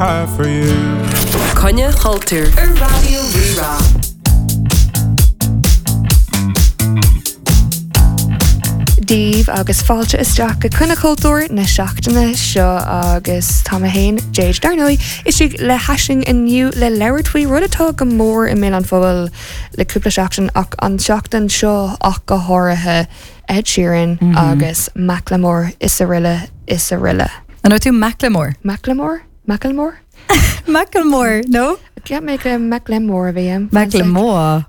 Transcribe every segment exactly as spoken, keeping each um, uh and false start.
have for you. Coinne Chultúir ar Raidió Rí-Rá. Daoibh agus fáilte isteach go Coinne Chultúir na seachtaine seo agus tá mé féin Jade dar ndóigh istigh le hAisling inniu le labhairt faoi rud atá go mór i mbéal an phobail le cúpla seachtain ach an seachtain seo ach go háirithe Ed Sheeran mm -hmm. agus Macklemore is araile is araile. An tú Macklemore? Macklemore? Macklemore? Macklemore, no? Cheap mé go Macklemore a bhí ann. Macklemore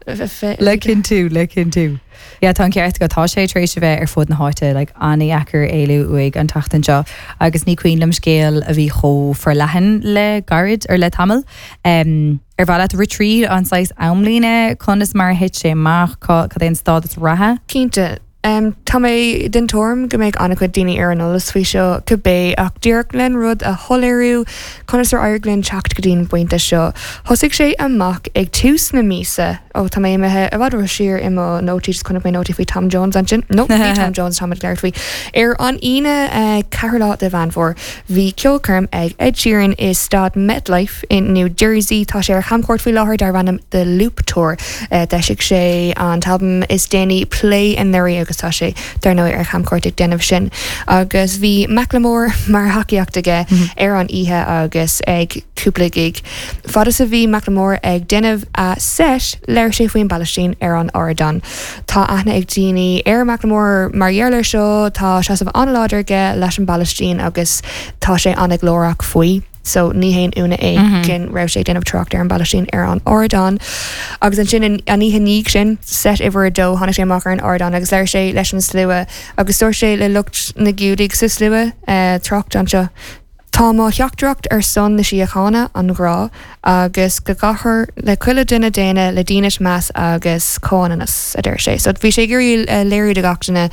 Le cinntiú le cinntiú. Yeah, tá an ceart agat tá sé tar éis a bheith ar fud na háite like, an-deacair éalú uaidh an tseachtain seo agus ní cuimhin liom scéal a bhí chomh forleathan le gairid ar le tamall. Um, ar mhaith leat rith tríd an saghas amlíne conas mar a thit sé amach cad é an stádas reatha? Cinnte. Um, tá mé den tuairim go mbeidh an-chuid daoine ar an eolas faoi seo cibé ach díreach len rud a shoiléiriú conas ar éirigh linn teacht go dtí an bpointe seo. Thosaigh sé amach ag tús na míosa ó tá mé imithe i bhfad siar i mo nótaí just chonaic mé nótaí faoi Tom Jones ansin. No, ní Tom Jones táimid ag labhairt faoi. Ar an Aoine uh, ceathrú lá de Mheán Fómhair, bhí ceolchoirm ag Ed Sheeran i staid MetLife in New Jersey tá sé ar chamchuairt faoi láthair darb ainm The Loop Tour. Uh, D'eisigh sé an t-albam is déanaí Play anuraidh agus tá sé dar ndóigh ar chamchuairt ag déanamh sin. Agus bhí Macklemore mar thacaíocht aige mm -hmm. ar an oíche agus ag cúpla gig. Fad is a bhí Macklemore ag déanamh a set labhair sé faoin bPalaistín ar an ardán. Tá aithne ag daoine ar Macklemore mar gheall air seo tá seasamh an-láidir aige leis an bPalaistín agus tá sé an-ghlórach faoi. So ní haon ionadh é mm -hmm. go raibh sé déanamh trácht ar an bPalaistín ar an ardán. Agus ansin an oíche ina dhiaidh sin set uimhir a dó tháinig sé amach ar an ardán agus labhair sé leis an slua agus dúirt sé le lucht na Giúdaigh sa slua uh, trácht anseo. Tá mo theachtaireacht ar son na síochána an ghrá agus go gcaithfear le chuile duine daonna le dínit meas agus comhionannas a deir sé. So bhí sé ag iarraidh uh, léiriú do gach duine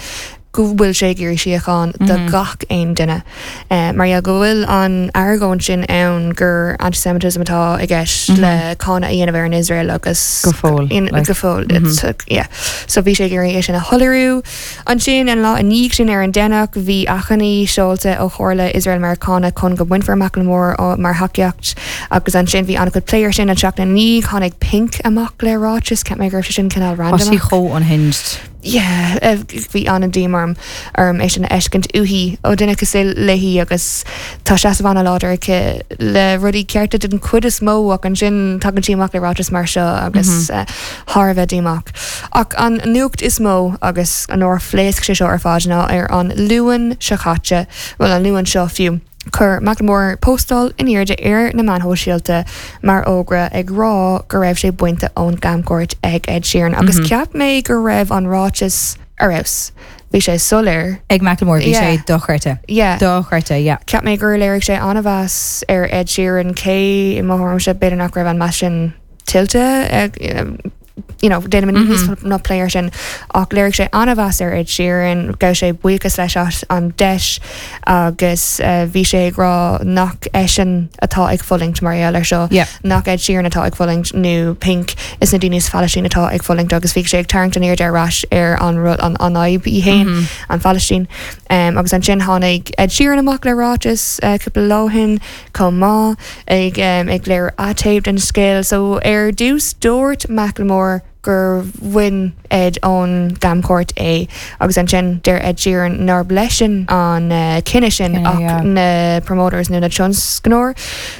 go bhfuil sé ag iarraidh síocháin do mm -hmm. gach aon duine. Uh, mar go bhfuil an argóint sin ann gur antisemitism atá i gceist mm -hmm. le cáineadh a dhéanamh ar an Israel agus go fóill go fóill mm -hmm. yeah. So bhí sé ag iarraidh é sin a shoiléiriú. Ansin an lá ina dhiaidh sin ar an Domhnach bhí achainí seolta ó Chomhairle Israel Meiriceánach chun go mbainfear Macklemore mar thacaíocht agus ansin bhí an-chuid plé sin an seachtain ní tháinig Pink amach le ráiteas cheap mé go raibh sin cineál random. sí chomh unhinged. Yeah, bhí an-díomá orm orm é sin a fheiscint uaithi ó duine cosúil léi agus tá seasamh an-láidir aici le rudaí cearta den chuid is mó ach ansin tagann sí amach le ráiteas mar seo agus mm -hmm. uh, thar a bheith díomách. Ach an nuacht is mó agus an uair a phléasc sé seo ar fad ná ar an Luan seo caite, well an Luan seo fiú. Chuir Macklemore postáil in airde ar na meáin shóisialta mar fhógra ag rá go raibh sé bainte ón gcamchuairt ag Ed Sheeran agus mm -hmm. cheap mé go raibh an ráiteas ar fheabhas. Bhí sé soiléir. Ag Macklemore bhí sé dochreidte. Dochreidte, yeah. Cheap mé gur léirigh sé an-mheas ar Ed Sheeran cé i mo thuairimse b'fhéidir nach raibh an meas sin tuillte you know, déanfaidh mm -hmm. ná plé sin ach léirigh sé an-mheas ar Ed Sheeran, gabh sé buíochas leis as an deis agus uh, bhí sé ag rá nach eisean atá ag fulaingt mar gheall air seo yeah. nach Ed Sheeran atá ag fulaingt nó Pink is na daoine sa Phalaistín atá ag fulaingt agus bhí sé ag tarraingt an aird ar ais ar an rud an an fhadhb í féin mm -hmm. an Phalaistín. Um, agus ansin tháinig Ed Sheeran amach le ráiteas uh, cúpla lá ó shin chomh maith ag um, ag léiriú a thaobh den scéal, so ar dtús dúirt Macklemore gur bhain Ed ón gcamchuairt é agus ansin deir Ed Sheeran nár leisean an uh, cinneadh sin ach yeah. na promoters nó na tionscnóirí.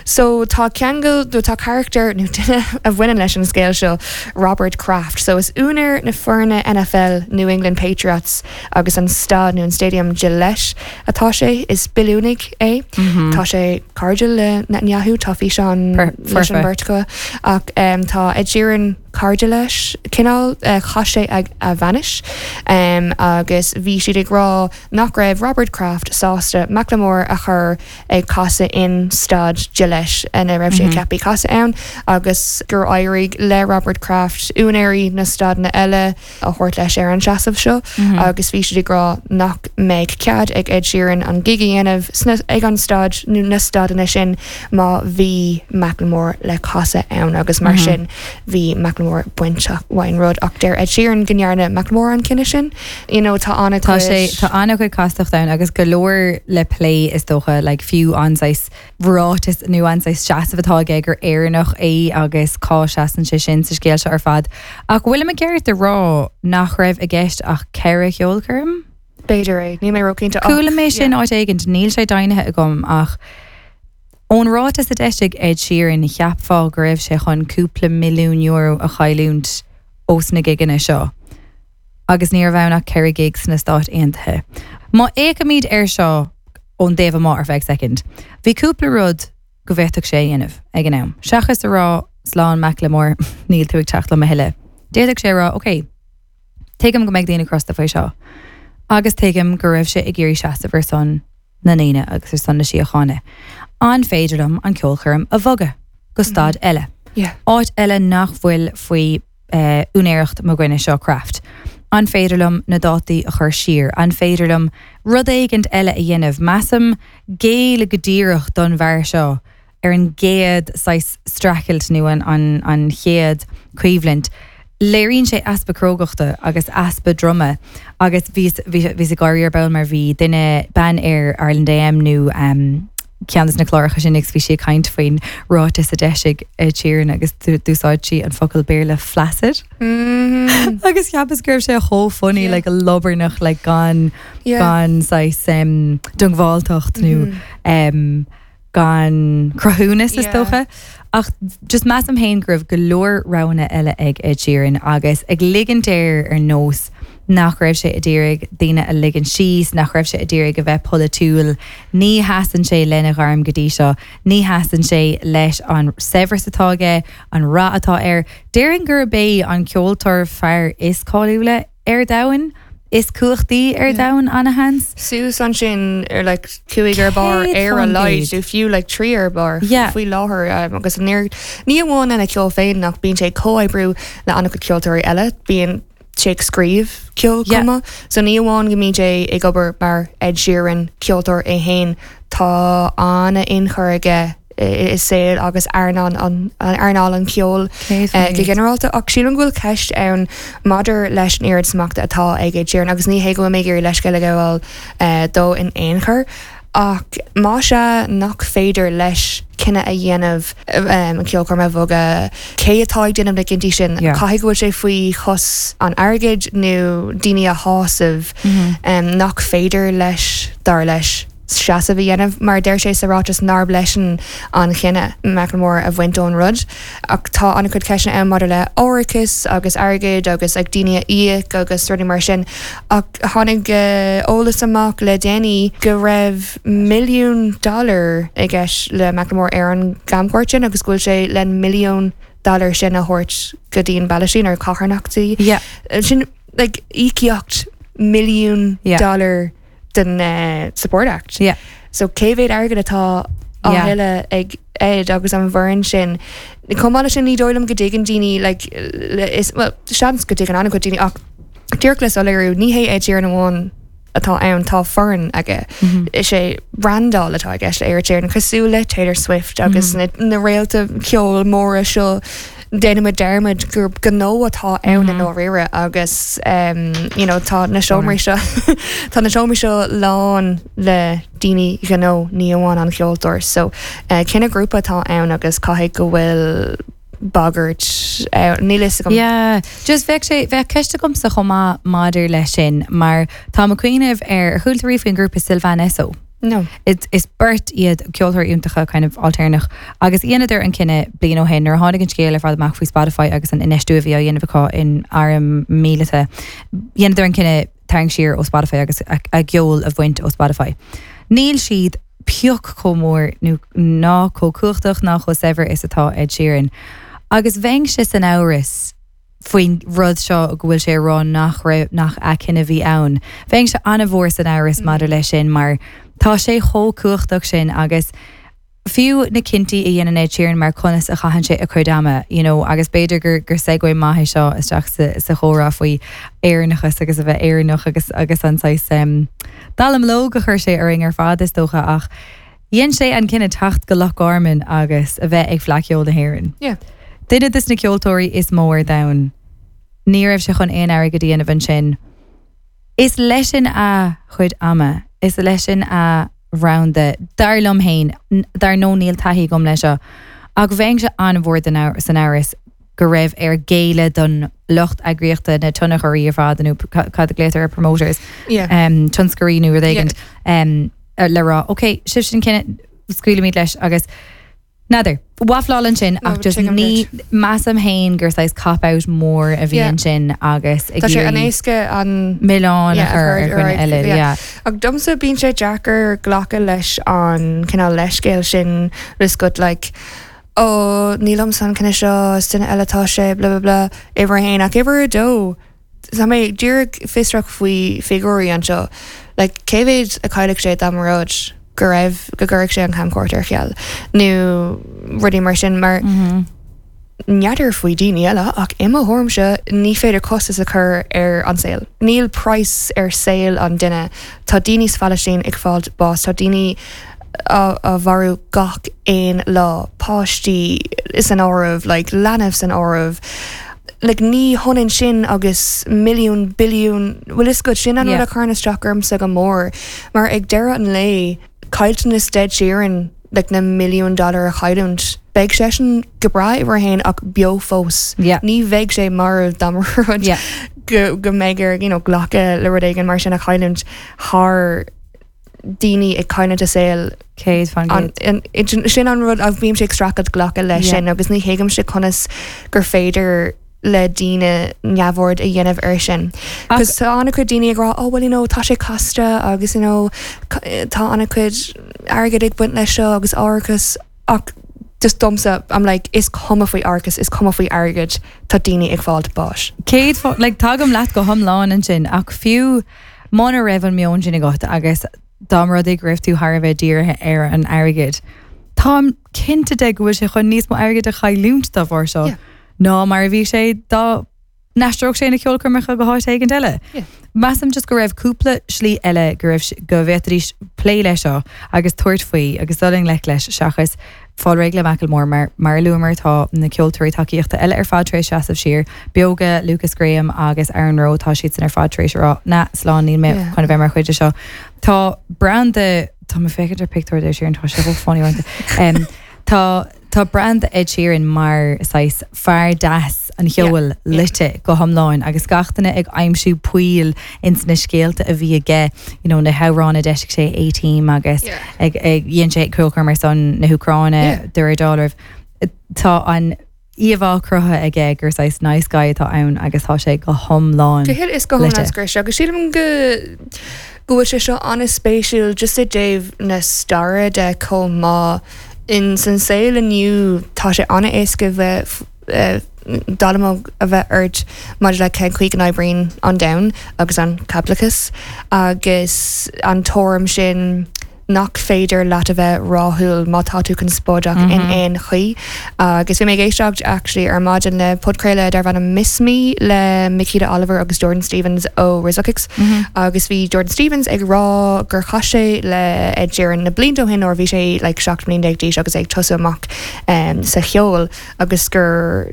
So tá ceangal nó tá carachtar nó duine a bhaineann leis an scéal seo Robert Kraft. So is úinéir na foirne NFL New England Patriots agus an staid nó an stadium Gillette atá sé is billiúnaigh é. Mm -hmm. Tá sé cairdiúil le Netanyahu tá físeán leis an bheirt acu ach um, tá Ed Sheeran cairdiúil leis cineál uh, chaith sé ag a bhainis um, agus bhí siad ag rá nach raibh Robert Kraft sásta Macklemore a chur ag casadh in staid Gillette ina raibh sé mm -hmm. ceaptha casadh ann agus gur éirigh le Robert Kraft úinéirí na staideanna eile a thabhairt leis ar an seasamh seo mm -hmm. agus bhí siad ag rá nach mbeidh cead ag Ed Sheeran an gig a dhéanamh ag an staid nó na staideanna sin má bhí Macklemore le casadh ann agus mar mm -hmm. sin bhí Macklemore Macklemore bainteach faoin rud ach deir Ed Sheeran go ndearna Macklemore an cinneadh sin you know tá an Tá sé tá an-chuid castacht ann agus go leor le plé is dócha like, fiú an saghas ráiteas nó an saghas seasamh atá aige gur Éireannach é agus cá seasann sé sin sa scéal seo ar fad. Ach bhfuil mé ceart a rá nach raibh i gceist ach ceithre cheolchoirm? B'fhéidir é ní mé róchinnte Chuala mé sin áit éigin níl sé deimhnithe agam ach ón ráiteas a d'eisigh Ed Sheeran cheapfá go raibh sé chun cúpla milliún euro a chailliúint ós na gigeanna seo. Agus ní raibh ann ach ceithre gig sna Stáit Aontaithe. Má fhéachaimid air seo ón dtaobh amuigh ar feadh second. Bhí cúpla rud go bhféadfadh sé a dhéanamh ag an am. Seachas a rá slán Macklemore níl tú ag teacht liom a thuilleadh. D'fhéadfadh sé rá, okay, Tuigim go mbeidh daoine crosta faoi seo. Agus tuigim go raibh sé ag iarraidh seasamh ar son na ndaoine agus ar son na síochána. An féidir liom an ceolchoirm a bhogadh go staid eile. Yeah. Áit eile nach bhfuil faoi uh, úinéireacht mo dhuine seo Kraft. An féidir liom na dátaí a chur siar, an féidir liom rud éigin eile a dhéanamh, Measaim géilleadh go díreach don bhfear seo ar an gcéad saghas streachailt nó an, an, an chéad choimhlint. Léiríonn sé easpa crógachta agus easpa droma agus bhí bhí ag gáirí ar ball mar bhí duine bean ar Ireland AM nó um, ceann na cláracha sin agus bhí sí ag caint faoin ráiteas a d'eisigh Ed Sheeran agus d'úsáid sí an focal Béarla flaccid. Mm. Agus cheapas go raibh sé chomh funny Yeah. like a liobarnach like gan Yeah. gan saghas um, diongbháilteacht nó Mhm. um, gan cruthúnas is Yeah. dócha. Ach just measaim féin go raibh go leor roghanna eile ag Ed Sheeran agus ag ligint air ar nós nach raibh sé ag iarraidh daoine a ligean síos, nach raibh sé ag iarraidh a bheith polaitiúil, ní sheasann sé lena ghairm go dtí seo, ní sheasann sé leis an saibhreas atá aige, an rath atá air. Déarfainn gurb é an ceoltóir fear is cáiliúla ar domhan, is cumhachtaí ar Yeah. domhan an-seans. Suas ansin ar like cúig ar barr Céad ar a faoin laghad gcéad. nó fiú like trí ar barr Yeah. faoi láthair um, agus ní ní amháin lena ceol féin nach bíonn sé ag comhoibriú le an-chuid ceoltóirí eile bíonn sé ag scríobh ceol Yeah. chomh maith. So ní amháin go mbíonn sé ag obair mar Ed Sheeran ceoltóir é féin tá an-tionchar aige i i saol agus earnáil an an earnáil an ceol Céad eh, faoin go gcéad. ginearálta ach sílim go bhfuil ceist ann maidir leis an oiread smachta atá ag Ed Sheeran agus ní hé go bhfuil mé ag iarraidh leithscéal a ghabháil eh, dó in aon chor ach má sé nach féidir leis cinneadh a dhéanamh um, an ceolchoirm a bhogadh cé atá ag déanamh na gcinntí sin Yeah. caithfidh go bhfuil sé faoi chos an airgid nó daoine a shásamh Mhm. um, nach féidir leis dar leis seasamh a dhéanamh mar deir sé sa ráiteas nárb leisean an cinneadh Macklemore a bhaint ón rud ach tá an-chuid ceisteanna ann maidir le árachas agus airgead agus ag daoine a íoc agus rudaí mar sin ach tháinig uh, eolas amach le déanaí go raibh milliún dollar i gceist le Macklemore ar an gcamchuairt sin agus go bhfuil sé le milliún dollar sin a thabhairt go dtí an Phalaistín ar carthanachtaí Yeah. sin like íocaíocht milliún Yeah. dollar den uh, support act. Yeah. So cé mhéad airgead atá á Yeah. thuilleamh ag Ed agus an bhfoireann sin. Chomh maith leis sin ní dóigh liom go dtuigeann daoine like, le- is well, seans go dtuigeann an-chuid daoine ach díreach le soiléiriú ní hé Ed Sheeran amháin atá ann tá foireann aige. Mhm. Is é brandáil atá i gceist le Ed Sheeran cosúil le Taylor Swift agus Mhm. na, na réalta ceol móra seo déanaimid dearmad gur gnó atá ann Mhm. i ndáiríre agus um, you know, tá na seomraí seo tá na seomraí seo lán le daoine gnó ní amháin an ceoltóir so uh, cinneadh grúpa atá ann agus caithfidh go bhfuil bagairt uh, níl a fhios agam Yeah, just bheadh sé bheadh ceist agamsa chomh maith maidir leis sin mar tá mé ag cuimhneamh ar chuala tú faoin grúpa Sylvan Esso. no Is, is beirt iad ceoltóir iontacha kind of ailtéarnach agus dheineadar an cinneadh bliain ó shin nuair a tháinig an scéal ar fad amach faoi Spotify agus an infheistiú a bhí á dhéanamh acu in arm míleata. Dheineadar an cinneadh tarraingt siar ó Spotify agus a, a gceol a bhaint ó Spotify. Níl siad pioc chomh mór nó ná chomh cumhachtach ná chomh saibhir is atá Ed Sheeran. Agus bheinnse san amhras faoin rud seo go bhfuil sé rá nach raibh nach a chinneadh a bhí ann. Bheinnse an-mhór san amhras maidir leis sin mar tá sé chomh cumhachtach sin agus fiú na cinntí a dhéanann Ed Sheeran mar conas a chaitheann sé a chuid ama, you know, agus b'fhéidir gur gur segue maith é seo isteach sa, sa chomhrá faoi Éireannachas agus a bheith Éireannach agus agus an saghas um, dallamullóg a chuir sé orainn ar fad is dócha ach dhein sé an cinneadh teacht go Loch Garman agus a bheith ag Fleadh Cheoil na hÉireann. Yeah. Duine des na ceoltóirí is mó ar domhan. Ní raibh sé chun aon airgead a dhéanamh ansin. Is leisean a chuid ama, is leisean a bhranda dar liom féin dar nó níl taithí agam leis seo. Ach bheinnse an-mhór san amhras go raibh air géilleadh don lucht eagraíochta na tionchairí ar fad nó cad a glaotar ar promoters um, tionscnóirí nó rud éigin um, le rá. Ok, sibh sin cinne scaoilimid leis agus N'fheadar, Wafláil ansin ach just ní measaim féin gur saghas cop-out mór a bhí ansin agus Tá sé an-éasca an milleán a chur ar dhuine eile. Ach domsa bíonn sé deacair glacadh leis an cineál leithscéal sin riscut like ó níl san cinenne seo duine eile tá sé bla bla bla uimhir haon ach uimhir a dó. Tá mé díreach fiosrach faoi figiúirí anseo, like cé mhéad a chaillfeadh sé dá mba rud go raibh go gcuirfeadh sé an camchuairt ar ceal nó rudaí mar sin mar n'fheadar faoi daoine eile ach i mo thuairimse ní féidir costas a chur ar an saol. Níl price ar saol an duine Tá daoine sa Phalaistín ag fáil bás tá daoine á á mharú gach aon lá páistí san áireamh like leanbh san áireamh. Like ní hionann sin agus milliún billiún bhfuil is go sin an rud Yeah. a chuireann isteach ormsa go mór mar ag deireadh an lae caillteanas Ed Sheeran like na milliún dollar a chailliúint. Beidh seisean go breá uimhir a haon ach beo fós. Yeah. Ní bheidh sé marbh dá rud Yeah. go go mbeidh air you know, glacadh le rud éigin mar sin a chailliúint thar daoine ag cailliúint a saol Céad faoin an, an, an, sin an rud a bhím sé ag streachailt glacadh leis Yeah. sin agus ní thuigimse conas gur féidir le daoine neamhaird a dhéanamh air sin. Ach- Cos tá an-chuid daoine ag rá oh well you know tá sé casta agus you know tá an-chuid airgead ag baint leis seo agus árachas ach just domsa I'm like is cuma faoi árachas is cuma faoi airgead tá daoine ag fáil báis. Céad fá like, tagaim leat go hiomlán ansin ach fiú muna raibh an meon sin agat agus dá mba rud é go raibh tú thar a bheith dírithe ar an airgead. Táim cinnte de go bhfuil sé chun níos mó airgead a chailliúint dá bharr seo Yeah. ná mar a bhí sé dá n-aistreodh sé na ceolchoirmeacha go háit éigin eile. Yeah. Measaim just go raibh cúpla slí eile go raibh go bhféadfaidís plé leis seo agus tabhairt faoi agus dul i ngleic leis seachas fáil réidh le Macklemore mar mar luamar tá na ceoltóirí tacaíochta eile ar fad tar éis seasamh siar Beoga Lukas Graham agus Aaron Rowe tá siad san ar fad tar éis rá na slán níl mé Yeah. chun a bheith mar chuid de seo. Tá branda Tá mé féachaint ar pictiúr de Sheeran tá sé chomh funny orthu. Um, Tá Tá branda Ed Sheeran mar saghas fear deas an cheoil Yeah, yeah. loite go hiomlán agus gach duine ag aimsiú poill ins na scéalta a bhí aige you know, na hamhráin a d'eisigh sé A-Team agus Yeah. ag ag dhein sé ceolchoirm ar son na hÚcráine Yeah. de dollar. Tá an íomhá cruthaithe aige gur saghas nice guy atá ann agus tá sé go hiomlán. Go huile is go Loite. hiomlán scrios agus sílim go go bhfuil sé seo an-spéisiúil just i dtaobh na staire de chomh maith in san saol inniu tá sé an-éasca bheith eh, dallamullóg a bheith ort maidir le cén chaoi go n-oibríonn an domhan agus an caipitleachas agus an tuairim sin nach féidir leat a bheith rathúil má tá tú conspóideach mm -hmm. in aon chaoi agus bhí mé ag éisteacht actually ar maidin le podchraoladh darb ainm Miss Me le Miquita Oliver agus Jordan Stevens ó Rizzle Kicks Mm -hmm. agus bhí Jordan Stevens ag rá gur chas sé le Ed Sheeran na blianta ó shin ó bhí sé like, seacht mbliana déag d'aois agus ag tosú amach um, sa cheol agus gur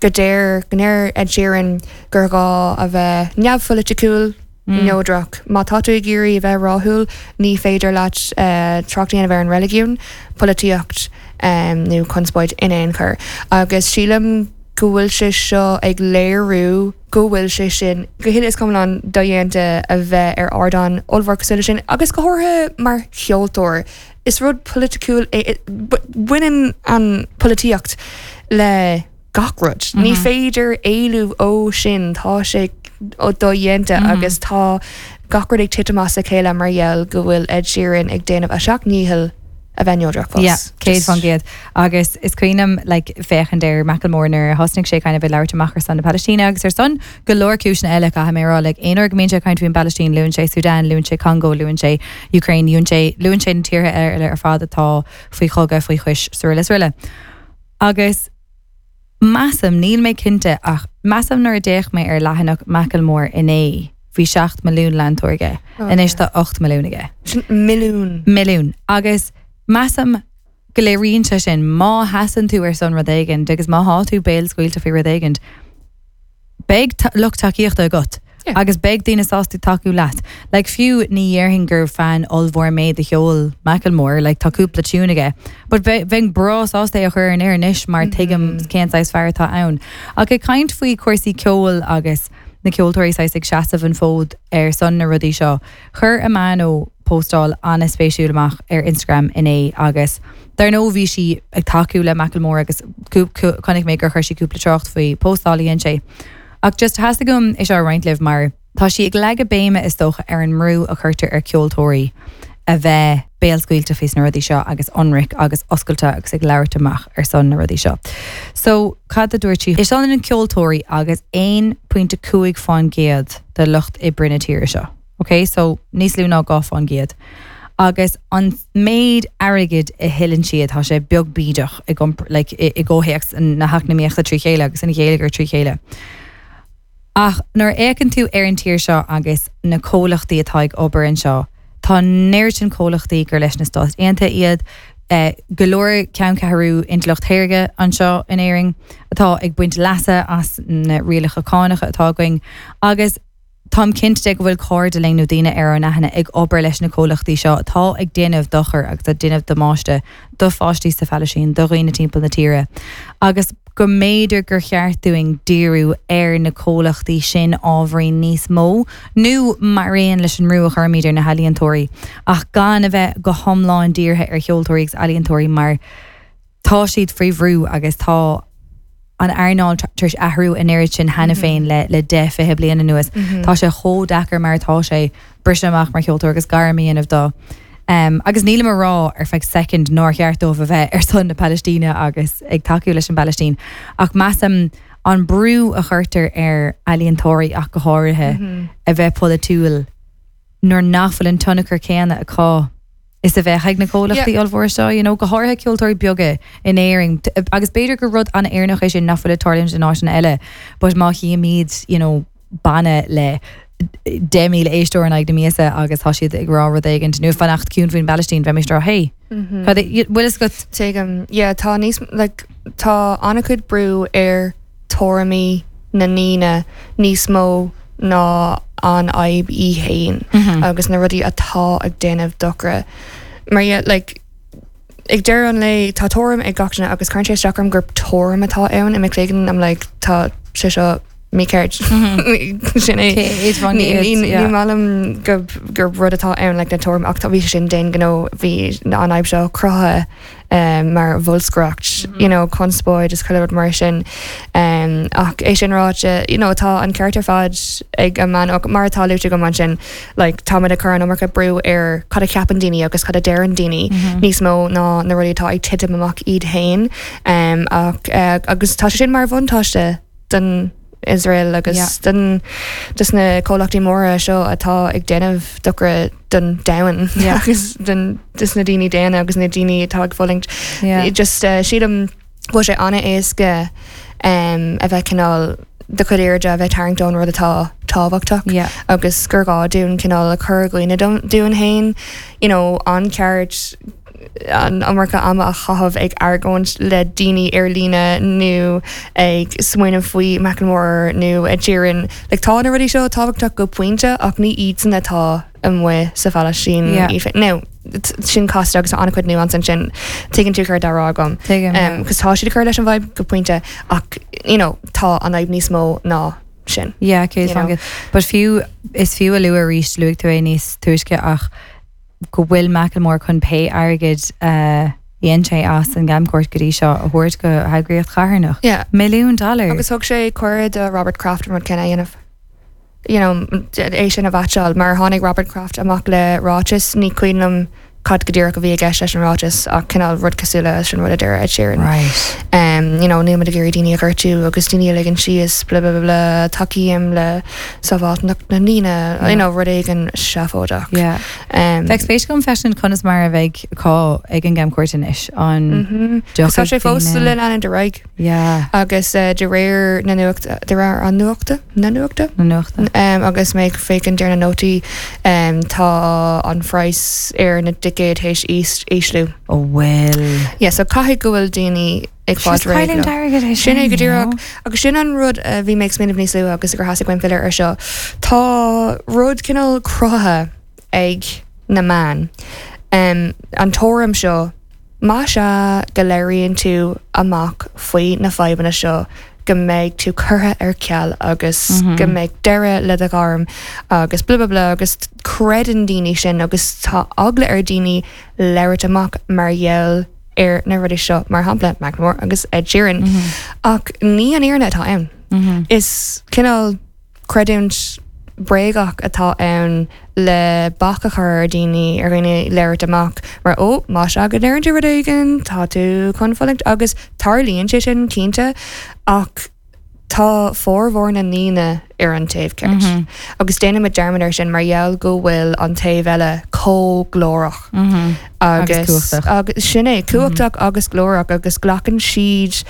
go deir go ndeir Ed Sheeran gur gá a bheith neamhpholaitiúil Mm. neodrach. Má tá tú ag iarraidh a bheith rathúil ní féidir leat uh, trácht a bheith an reiligiún, polaitíocht um, nó conspóid in aon chor. Agus sílim go bhfuil sé seo ag léiriú go bhfuil sé sin go huile is iomlán dodhéanta a bheith ar ardán ollmhór cosúil leis sin agus go háirithe mar cheoltóir. Is rud polaitiúil é- baineann an polaitíocht le gach rud. Mm -hmm. Ní féidir éalú ó sin tá sé ó dodhéanta mm -hmm. agus tá gach rud ag titim as a chéile mar gheall go bhfuil Ed Sheeran ag déanamh a sheacht ndícheall a bheith neodrach fós. Yeah, céad faoin gcéad agus is cuimhin liom like, féachaint ar Macklemore nuair a thosnaigh sé kind of ag labhairt amach ar son na Palestíne agus ar son go leor cúiseanna eile caithfidh mé rá like, aon uair go mbíonn sé ag caint faoin Palestine luann sé Sudan, luann sé Congo, luann sé Ukraine, luann sé luann sé na tíortha eile ar fad atá faoi chogadh faoi chois sruile sruile. Agus measaim níl mé cinnte ach measaim nuair a d'fhéach mé ar leathanach Macklemore inné bhí seacht milliún leantóir aige. Oh, Anois tá ocht milliún aige. Sin milliún. Milliún. Agus measaim go léiríonn sé sin má sheasann tú ar son rud éigin agus má tá tú béalscaoilte faoi rud éigin. Beidh lucht tacaíochta agat. Yeah. Agus beidh daoine sásta tacú leat. Like fiú ní dhéarfainn gur fan ollmhór mé de cheol Macklemore, like tá cúpla tune aige. But bheinn breá sásta é a chur in air anois mar tuigim cén saghas fear atá ann. Ach ag caint faoi cúrsaí ceoil agus na ceoltóirí saghas ag seasamh an fód ar son na rudaí seo. Chuir Amano postáil an-spéisiúil amach ar Instagram inné agus Dar ndóigh bhí sí ag tacú le Macklemore agus chonaic mé gur chuir sí cúpla trácht faoi postáil a dhein sé. Ach just theastaigh uaim é seo a roinnt libh mar tá sí ag leagadh béime is dócha ar an mbrú a chuirtear ar ceoltóirí a bheith béalscaoilte faoi na rudaí seo agus ionraic agus oscailte agus ag labhairt amach ar son na rudaí seo. So cad a dúirt sí? Is ionann ceoltóirí agus aon pointe cúig faoin gcéad de lucht oibre na tíre seo. Ok, so níos lú ná dhá faoin gcéad. Agus an méid airgid a thuilleann siad tá sé beag bídeach i like, i gcomhthéacs na heacnamaíochta trí chéile agus an gheilleagair trí chéile. Ach nuair a fhéachann tú ar an tír seo agus na comhlachtaí atá ag obair anseo, Tá neart sin comhlachtaí gur leis na Stáit Aontaithe iad, eh, go leor ceanncheathrú intleacht shaorga anseo in Éirinn atá ag baint leasa as na rialacha cánacha atá againn agus Táim cinnte go bhfuil cairde linn nó daoine ar ár n-aithne ag obair leis na comhlachtaí seo atá ag déanamh dochar agus ag déanamh damáiste do pháistí sa Phalaistín do dhaoine timpeall na tíre. Agus go mb'fhéidir gur cheart dúinn díriú ar na comhlachtaí sin ábhairín níos mó, nó mar aon leis an mbrú a chuirimid ar na healaíontóirí, ach gan a bheith go hiomlán dírithe ar cheoltóirí agus ealaíontóirí mar tá siad faoi bhrú agus tá an earnáil tar éis athrú an oiread sin cheana féin le le deich fiche bliain anuas. Tá sé chomh deacair mar atá sé briseadh amach mar cheoltóir agus gairm a dhéanamh dó. Um, agus nílim a rá ar feadh second nár cheart dóibh a bheith ar son na Palaistíne agus ag tacú leis an bPalaistín. Ach measaim an brú a chuirtear ar ealaíontóirí ach go háirithe a bheith polaitiúil nuair nach bhfuil an tionchar céanna acu is a bheadh ag na comhlachtaí ollmhóra seo, you know, go háirithe ceoltóirí beaga in Éirinn agus b'fhéidir gur rud an-Éireannach é sin nach bhfuil ag tarlúint in áiteanna eile, but má chímid, you know, banna le deich míle éisteoir in aghaidh na míosa agus tá siad ag rá rud éigin nó fanacht ciúin faoin bPalaistín bheimis ag rá hey Cad é- bhfuil fhios agat Tuigim yeah, tá níos like, tá an-chuid brú ar tuairimí na ndaoine níos mó ná an fhadhb í féin agus na rudaí atá ag déanamh dochar. Mar yeah, like, ag deireadh an lae tá tuairim ag gach duine agus cuireann sé isteach orm gur tuairim atá ann i m'chloigeann I'm like tá sé seo mícheart sin é. Céad faoin Ní gcéad, ní- yeah. ní maith liom go gur rud atá ann like, na tuairim ach tá bhí sé sin déan gnó bhí an fhadhb seo cruthaithe um, mar bholscaireacht you know, conspóid is chuile rud mar sin um, ach é sin ráite you know, tá an ceart ar fad ag an man mar atá luaite go man sin like, tá ag cur an iomarca brú ar cad a cheapann daoine agus cad a deireann daoine níos mó ná na rudaí atá ag titim amach iad féin um, ach uh, agus tá sé sin mar bhuntáiste don Israel agus Yeah. den dus na comhlachtaí móra seo atá ag déanamh dochar don domhan Yeah. agus den dus na daoine daonna agus na daoine atá ag fulaingt Yeah. just uh, sílim go bhfuil sé an-éasca um, a bheith cineál do chuid airde a bheith tarraingt ón rud atá tábhachtach Yeah. agus gur gá dúinn cineál a chur i gcuimhne dúinn féin you know, an ceart an iomarca ama a chaitheamh ag argóint le daoine ar líne nó ag smaoineamh faoi Macklemore nó Ed Sheeran. Like, tá na rudaí seo tábhachtach go pointe ach ní iadsan atá amuigh sa Phalaistín Yeah. í féin. Now, t- sin casta agus an-chuid nuance ansin tuigeann tú céard atá á rá agam. Tuigim, yeah. Um, cos tá siad ag cur leis an bhfadhb go pointe ach you know, tá an fhadhb níos mó ná sin. Yeah, céad You know. faoin gcéad. But fiú is fiú a lua arís luaigh tú é níos túisce ach go bhfuil Macklemore chun pé airgead uh, dhein sé as an gcamchuairt go dtí seo a thabhairt go heagraíocht charthanach. Yeah. Milliún dollar. Agus thug sé cuireadh do Robert Kraft an rud céanna a dhéanamh. You know, é sin a mheaitseáil mar tháinig Robert Kraft amach le ráiteas ní cuimhin liom cad go díreach a bhí i gceist leis an ráiteas ach cineál rud cosúil leis an rud a deir Ed Sheeran. Right. Um, you know, níl muid ag iarraidh daoine a ghortú agus daoine a ligean síos blah blah blah blah tacaím le sábháilteacht na ndaoine you know, rud éigin seafóideach. Yeah. Um, Bheadh spéis agam freisin conas mar a bheidh cá ag an gcamchuairt anois an mm Tá sé fós le leanúint ar aghaidh. Yeah. agus uh, de réir na nuachta de réir an nuachta na nuachta na nuachta. Um, agus mé ag féachaint ar na nótaí um, tá an praghas ar na ticéid théis ísliú. Oh well. Yeah, so caithfidh go bhfuil daoine ag fáil réidh leo. Sin é go díreach agus sin an rud a bhí mé ag smaoineamh níos luaithe agus gur theastaigh uaim filleadh ar seo. Tá rud cineál cruthaithe ag na meáin. Um, an tuairim seo más ea go labhraíonn tú amach faoi na fadhbanna seo go mbeidh tú curtha ar ceal agus go mbeidh deireadh le do ghairm agus blah blah blah agus creideann daoine sin agus tá eagla ar daoine labhairt amach mar gheall ar na rudaí seo mar shampla Macklemore agus Ed Sheeran. Ach ní an fhírinne atá ann. Is cineál creidiúint bréagach atá ann le bac a chur ar daoine ar dhaoine labhairt amach mar ó más ea go ndeireann tú rud éigin tá tú chun fulaingt agus tarlaíonn sé sin cinnte ach tá formhór na ndaoine ar an taobh ceart. Agus déanaimid dearmad ar sin mar gheall go bhfuil an taobh eile chomh glórach. Agus cumhachtach. agus sin é cumhachtach agus glórach agus glacann siad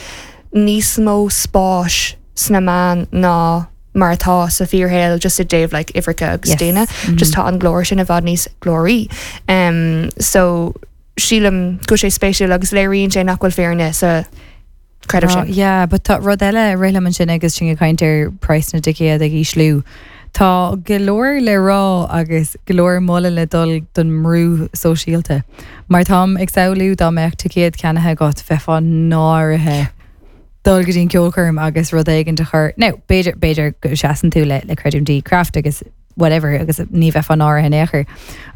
níos mó spáis sna meáin ná mar atá sa fíorshaol just i dtaobh like uimhreacha agus Yes. daoine just tá an glór sin i bhfad níos glóraí. Um, so sílim go sé spéisiúil agus léiríonn sé nach bhfuil fírinne sa creideamh Oh, sin. yeah, but tá rud eile rith liom ansin agus sin ag caint ar praghas na dticéad ag ísliú. Tá go leor le rá agus go leor moladh le dul don mbrú sóisialta. Mar táim ag samhlú dá mbeadh ticéad ceannaithe agat bheifeá náirithe dul go dtí an ceolchoirm agus rud éigin a chur. No, b'fhéidir b'fhéidir go seasann tú le le creidiúintí craft agus whatever agus ní bheifeá náirithe in aon chor.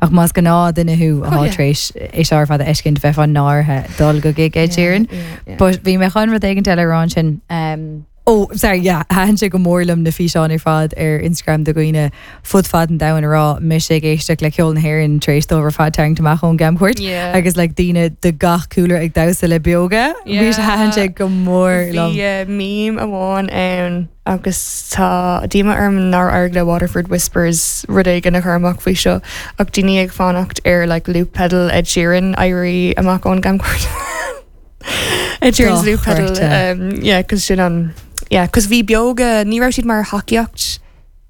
Ach más gnáthdhuine thú Oh, yeah. tar éis é seo ar fad a fheiscint bheifeá náirithe dul go gig Ed Sheeran. Yeah, yeah. But bhí mé chun rud éigin eile rá sin. Um, oh, sorry, yeah, thaitin sé go mór liom na físeáin ar fad ar Instagram de dhaoine fud fad an domhain ag rá mise ag éisteacht le ceol na hÉireann tar éis dóibh ar fad tarraingt amach ón gcamchuairt. Yeah. Agus like daoine de gach cúlra ag damhsa le Beoga. Bhí sé thaitin sé go mór liom. Bhí uh, meme amháin ann agus tá díomá orm nár éirigh le Waterford Whispers rud éigin a chur amach faoi seo ach daoine ag fanacht ar like loop pedal Ed Sheeran éirí amach ón gcamchuairt. Ed Sheeran's loop pedal Dochreidte. um, yeah, cos sin an yeah, cos bhí Beoga ní raibh siad mar thacaíocht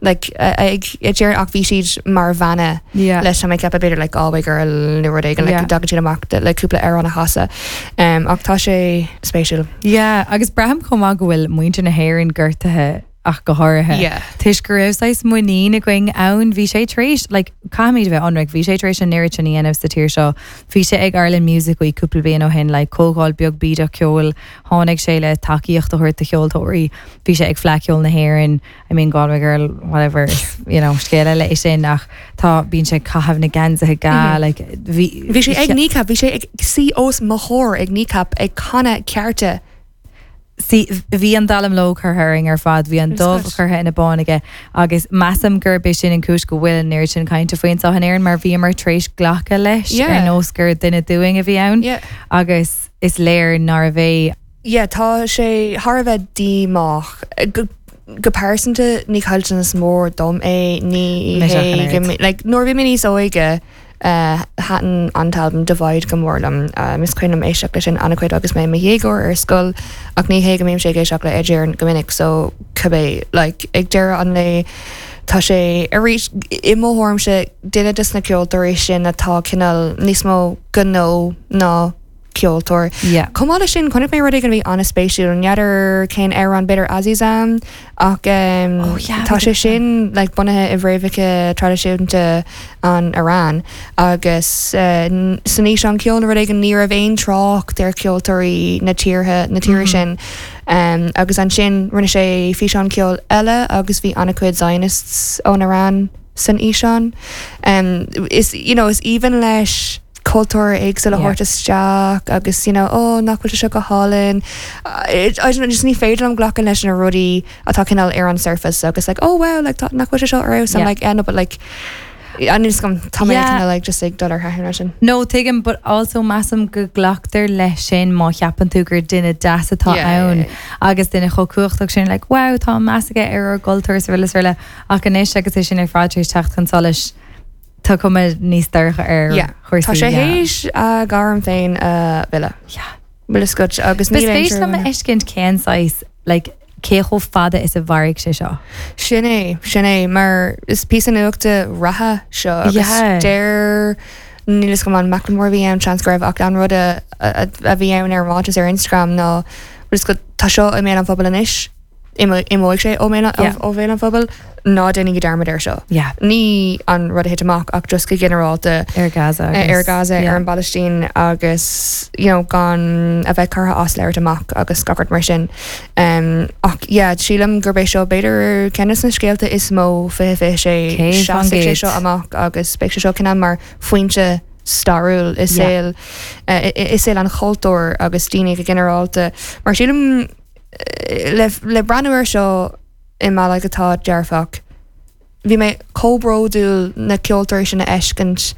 like uh, ag Ed Sheeran ach bhí siad mar bhanna Yeah. leis mé ceapadh b'fhéidir like Galway Girl nó rud éigin like Yeah. dtagann siad amach de, like cúpla amhrán a chasadh um, ach tá sé spéisiúil. Yeah, agus braithim chomh maith go bhfuil muintir na hÉireann gortaithe ach go háirithe. Yeah. Toisc go raibh saghas muinín againn ann bhí sé tar éis like, caithfimid bheith ionraic, bhí sé tar éis an oiread sin a dhéanamh sa tír seo. Bhí sé ag Ireland Music Week cúpla bliain ó shin like, comhdháil beag bídeach ceoil, tháinig sé le tacaíocht a thabhairt do cheoltóirí, bhí sé ag Fleadh Cheoil na hÉireann, I mean Galway Girl, whatever, you know, scéal eile é sin ach tá bíonn sé caitheamh na geansaithe ga, like, bhí Bhí sé ag Kneecap, bhí sé ag suí os mo chomhair ag Kneecap ag canadh Cearta. Sí, bhí an dallamullóg curtha orainn ar fad, bhí an It was dubh good. curtha ina bán aige agus measaim gurb é sin an chúis go bhfuil an oiread sin cainte faoi anseo in Éirinn mar bhíomar tar éis glacadh leis Yeah. ar nós gur duine dúinn a bhí ann Yeah. agus is léir nárbh é Yeah, tá sé thar a bheith díomách. Go, go pearsanta ní caillteanas mór dom é ní Mise hé ach an go oiread. mbi- like, nuair bhí mé níos óige uh, thaitin an t-albam Divide go mór liom uh, is cuimhin liom éisteacht leis sin an-chuid agus mé i mo dhéagóir ar scoil ach ní hé go mbím sé ag éisteacht le Ed Sheeran go minic so cibé like, ag deireadh an lae tá sé arís i mo thuairimse duine de na ceoltóirí sin atá cineál níos mó gnó ná ceoltóir. Yeah. Chomh maith leis sin chonaic mé rud éigin a bhí an-spéisiúil n'fheadar cén amhrán b'fhéidir Azizam ach um, Oh, yeah, tá sé bhí sin like, bunaithe i bhfréamhacha traidisiúnta an Iran agus uh, san fhíseán ceoil nó rud éigin ní raibh aon trácht ar ceoltóirí na tíortha na tíre sin. Um, agus ansin rinne sé físeán ceoil eile agus bhí an-chuid Zionists ón Iran san fhíseán. Um, is you know, is even leis cultúr éagsúil a Yeah. thabhairt isteach agus you know, oh, nach bhfuil sé go hálainn. Uh, it- I don't know, just ní féidir liom glacadh leis na rudaí atá cineál ar an surface agus like oh wow like tá nach bhfuil sé seo ar I'm Yeah. like yeah, no, but like an is gom tá mé Yeah. kind of like just ag dul ar thaitin sin. No tuigim, but also measaim go nglactar leis sin má cheapann tú gur duine deas atá Yeah, yeah, ann yeah. agus duine chomh cumhachtach sin like wow tá meas aige ar ár gcultúr is araile is araile ach anois agus é sin ar fad tar éis teacht chun solais tá cuma níos dorcha ar Yeah. chúrsaí, Tá sé yeah. théis a ghairm féin a mhilleadh. Yeah. Bhfuil a fhios agat agus Ba níl aon spéis liom a trua. fheiscint cén saghas like cé chomh fada is a mhairfidh sé seo. Sin é sin é mar is píosa nuachta reatha seo agus Yeah. deir Níl fhios agam an Macklemore bhí ann seans go raibh ach an rud a, a, a bhí ann ar ráiteas ar Instagram ná just go tá seo i mbéal an phobail anois imeoidh sé ó Yeah. ó bhéal an phobail ná déanaigí dearmad ar seo. Yeah. Ní an rud a thit amach ach just go ginearálta Ar Gaza ar agus- Gaza yeah. ar an bPalaistín agus you know, gan a bheith curtha as labhairt amach agus gach rud mar sin. Um, ach yeah, sílim gurb é seo b'fhéidir ceann de na scéalta is mó fiche fiche sé Céad faoin seasfaidh sé gcéad. seo amach agus beidh sé seo cineál mar phointe stairiúil i saol uh, i saol an chultúir agus daoine go ginearálta. Mar sílim eh, le, le breathnú ar seo i mbealach atá dearfach. Bhí mé chomh bródúil na ceoltóirí sin a fheiscint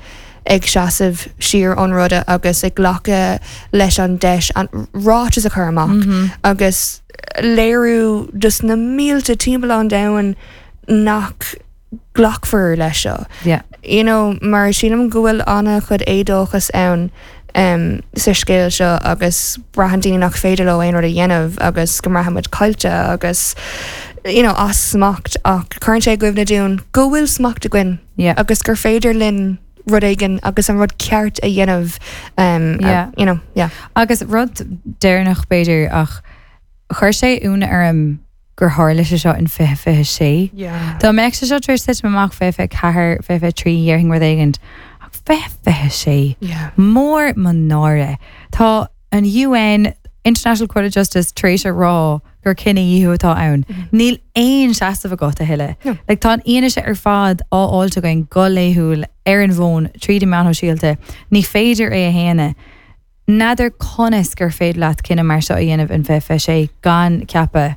ag seasamh siar ón ruda agus ag glacadh leis an deis an ráiteas a chur amach mm -hmm. agus léiriú just na mílte timpeall an domhain nach glacfar leis seo. Yeah. You know, mar sílim go bhfuil an-chuid éadóchas ann um, sa scéal seo agus braitheann daoine nach féidir leo aon rud a dhéanamh agus go mbraithimid caillte agus you know, as smacht ach cuireann sé i gcuimhne dúinn go bhfuil smacht againn Yeah. agus gur féidir linn rud éigin agus an rud ceart a dhéanamh um, Yeah. uh, you know, yeah. Agus rud deireanach b'fhéidir ach chuir sé ionadh orm gur tharla sé seo in fiche fiche sé. Yeah. Dá mbeadh sé seo tar éis titim amach fiche fiche ceathair fiche fiche trí dhéarfainn rud éigin ach fiche fiche sé. Yeah. Mór mo náire. Tá an UN International Court of Justice tar éis a rá gur cinedhíothú atá ann. Níl aon seasamh agat a thuilleadh. No. Like, tá an fhianaise ar fad á fháil againn go laethúil ar an bhfón tríd na meáin shóisialta, ní féidir é a shéanadh. N'fheadar conas gur féidir leat cinneadh mar seo a dhéanamh in fiche fiche sé gan ceapadh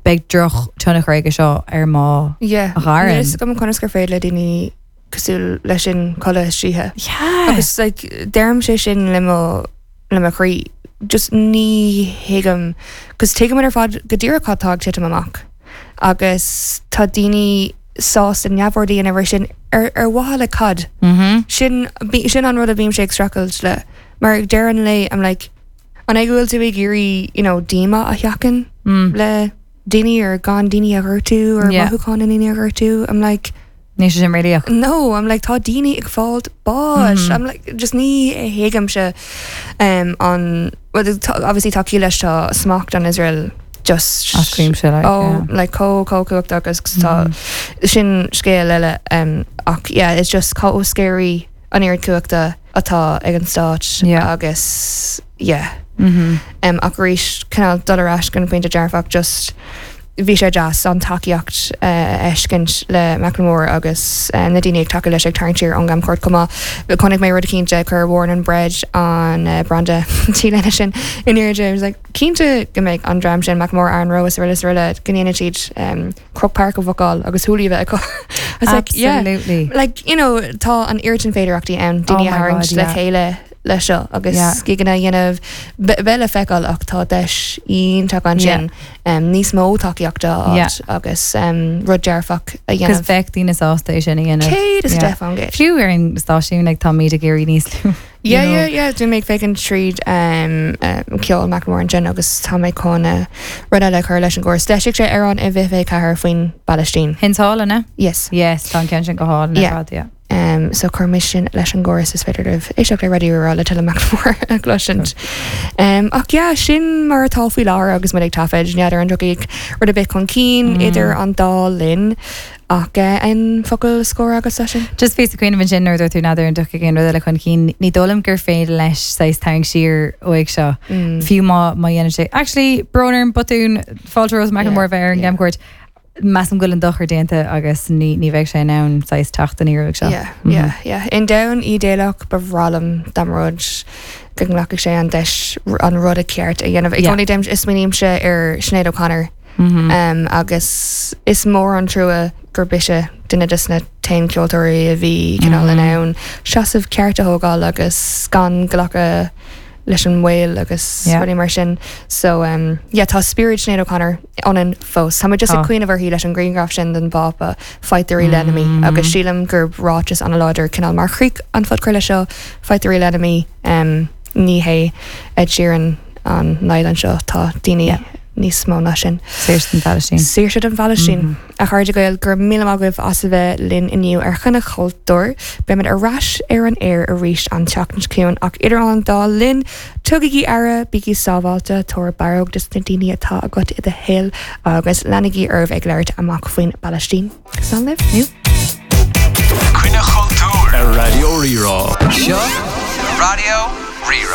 beidh drochthionchar aige seo ar mo Yeah. ghairm. Níl fhios agam conas gur féidir le daoine cosúil leis sin codladh istoíche. Yeah. Agus like, deirim sé sin le mo le mo chroí. Just ní thuigim, cos tuigim ar fad go díreach cad tá ag titim amach. Agus tá daoine sásta neamhaird a dhéanamh sin ar ar mhaithe le cad. Mm-hmm. Sin bí- sin an rud a bhím sé ag streachailt le. Mar ag deireadh an lae I'm like an é go bhfuil tú ag iarraidh you know, díomá a sheachaint Mm. le daoine ar gan daoine a ghortú ar Yeah. mothúcháin na ndaoine a ghortú. I'm like Ní sé sin réalaíoch. no, I'm like tá daoine ag fáil báis. Mhm. I'm like just ní thuigimse um, an well, tá- obviously tá ciall leis tá smacht an Israel just As cuimse like, oh yeah. like chomh chomh cumhachtach agus tá sin scéal eile um, ach yeah it's just chomh scary an oiread cumhachta atá ag an stát Yeah. agus yeah Mm-hmm. um, ach arís cineál dul ar ais go pointe dearfach just bhí sé deas an tacaíocht uh, a fheiscint le Macklemore agus uh, na daoine ag tacú leis ag tarraingt siar ón gcamchuairt chomh maith. Chonaic mé rud cinnte chuir Warren and Bread an uh, branda T-léine sin in airde was like cinnte go mbeidh an dream sin Macklemore Aaron Rowe is araile is araile go ndéanfaidh siad um, Croke Park a bhookáil agus Hooli bheith acu. I was like, yeah. Absolutely. Like, you know, tá an oiread sin féidearthachtaí ann Oh daoine my a tharraingt God, le yeah. chéile le seo agus Yeah. giganna dhéanamh be le feiceáil ach tá deis iontach ansin um, níos mó tacaíochta Yeah. agus um, rud dearfach a Cos dhéanamh. bheadh daoine sásta é sin a dhéanamh. Céad is Yeah. deich faoin gcéad. Fiú ar an stáisiún like, tá míad ag éirí níos lú. Yeah, you know. yeah, yeah, Bhí mé ag féachaint tríd um, um, ceol Macklemore ansin agus tá mé chun uh, rud eile a chur leis an gcóras. D'eisigh sé amhrán i bhfiche ceathair faoin bPalaistín. Hin hálanna? Yes. Yes, tá an ceann sin go hálainn Yeah. ar fad, yeah. Um, so chuir mé sin leis an gcóras is féidir libh éisteacht le Raidió Rí-Rá le tuilleadh Macklemore a chloisint. Um, ach yeah, sin mar atá faoi láthair agus muid ag taifead n'fheadar an dtiocfaidh rud ar bith chun cinn Mm. idir an dá linn ach uh, an focal scór agus sin. Just bhí cuimhin sin nuair tú n'fheadar an dtiocfaidh aon rud eile chun cinn, ní dóigh liom gur féidir leis saghas tarraingt siar uaidh seo. Mm. Fiú má má dhéanann sé. Actually, brón orm botún fáilte romhat Macklemore Yeah, bheith ar an yeah. gcamchuairt. Measaim go bhfuil an dochar déanta agus ní ní bheidh sé in ann saghas teacht aniar uaidh seo. Yeah, yeah, yeah. In domhan idéalach ba bhreá liom dá mba rud go nglacfadh sé an deis an rud a ceart a dhéanamh. I Yeah. gcónaí dem is smaoinímse ar Sinéad O'Connor Mm-hmm. um, agus is mór an trua gur bise duine des na t-aon ceoltóirí a bhí cineál in ann seasamh ceart a thógáil agus gan glacadh leis an bhfuil agus Yeah. rudaí mar sin. So um, yeah, tá spiorad Sinéad O'Connor ionainn fós. Tá just Tá. ag cuimhneamh uirthi leis an ghrianghraf sin den bPápa fight the real enemy agus sílim gur ráiteas an-láidir cineál mar chríoch an phodchraoladh seo fight the real enemy um, ní hé Ed Sheeran an Island seo tá daoine Yeah. níos mó ná sin. Saoirse don Phalaistín. Saoirse don Phalaistín mm -hmm. A chairde Gael go raibh míle maith agaibh as a bheith linn inniu ar Choinne Chultúir, Beimid ar ais ar an aer arís an tseachtain seo chugainn ach idir an dá linn tugaigí aire bígí sábháilte tabhair barróg dos na daoine atá agat i do shaol agus leanaigí oraibh ag labhairt amach faoin bPalaistín. Slán libh? Coinne Chultúir ar Raidió Rí-Rá. Seo Raidió Rí-Rá.